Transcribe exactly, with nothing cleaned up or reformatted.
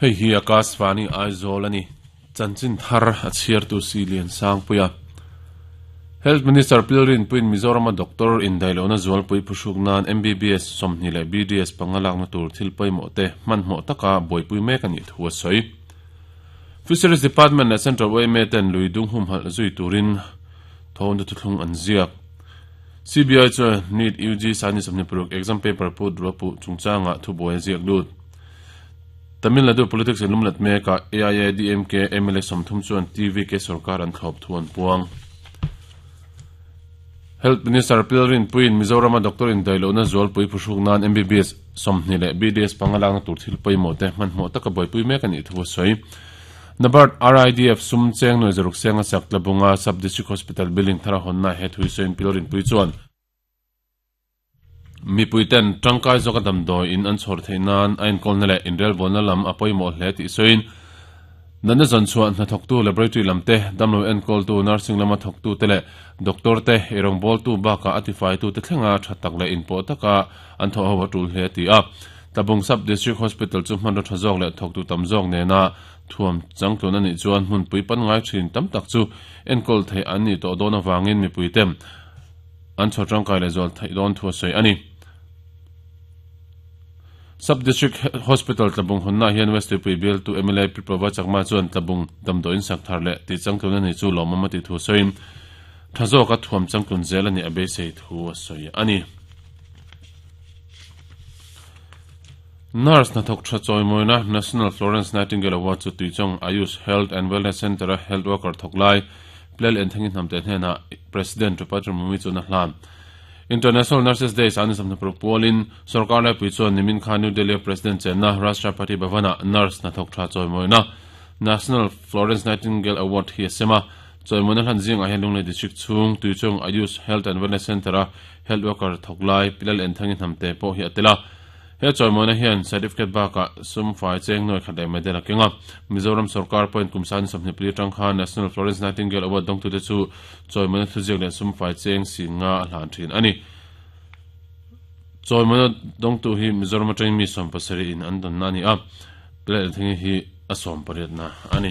Hei hi Akashvani Aizawl ani chanchin thar a chhiar tu si lian sang puia Health Minister Pilrin Puin Mizoram doctor in dailona zualpui phuhruk nan M B B S sawmhnih leh B D S pangalak na tur thil pawimawh te hmanhmawh taka buaipui mek ani thu a sawi. Fisheries Department leh Central Y M A ten lui dung humhalh zui turin thawna thuthlung an ziak. C B I chuan NEET U G sani sawmhnih paruk exam paper put ruapu chungchanga thubuai ziak lut. Tamil Nadu politics in lumlat meka A I A D M K M L A sawmthum chuan T V K sarkar an thlawp thu an puang. Health Minister Pilrin Puin Mizoram doctor in dailona zualpui phuhruk nan M B B S sawmhnih leh B D S pangalak na tur thil pawimawh te hmanhmawh taka buaipui mek ani thu a sawi. NABARD R I D F sum cheng noi zaruk senga sak Tlabunga Sub District Hospital building thara honna he thui soin Pilrin Pui chuan mipui ten tangkai zawka damdawi in an chhawr theih nan a enkawlna leh inrel bawlna lam a pawimawh hle tih sawiin natna zawn chhuah hna thawktu laboratory lam te, damlo enkawltu nursing lama thawktu te leh doctor te, eirawng bawltu bakah a tifaitu te thlenga tha tak leh inpawh taka an thawh ho a tul hle ti a. Tlabung Sub District Hospital chu hmanraw tha zawk leh thawktu tam zawk nena thuam changtlun anih chuan hmunpui pan ngai thin tam tak chu enkawl theih an nih tawh dawn awangin mipui te an chhawr tangkai leh zual theih dawn thu a sawi ani. Sub District Hospital Tlabung honna hian West Tuipui bial tu M L A Piprova Chakma chuan Tlabung damdawiin sak thar leh ti changtlun ani chu lawmawm a ti thu sawiin tha zawka thuam changtlun zel ani a beisei thu a sawi ani. Nurse hnathawk tha chawimawina National Florence Nightingale Award chu Tuichawng Ayush Health and Wellness Centre a health worker thawk lai Plel Enthangi Hnamte hnenah President Droupadi Murmu chuan a hlan. International Nurses Day sani sawmhnih paruk pualin sarkar laipui chuan nimin khan New Delhi President chenna Rashtrapati Bhavana nurse hnathawk tha chawimawina National Florence Nightingale Award hi a sem a. Chawimawina hlan zingah hian Lunglei District chhung Tuichawng Ayush Health and Wellness Centre a health worker thawk lai Pilal Enthangi Hnamte pawh hi a tel a. He chawimawina hian certificate bakah sum fai cheng nuai khat leh medal a keng a. Mizoram sarkar point kum sani sawmhnih pali atang khan National Florence Nightingale Award dawngtute chu chawimawina thuziak leh sum fai cheng si nga a hlan thin ani. Chawimawina dawngtu hi Mizoram atangin mi sawm pasarih in an dawn na ani a. Pilal Enthangi hi a sawm pariat na ani.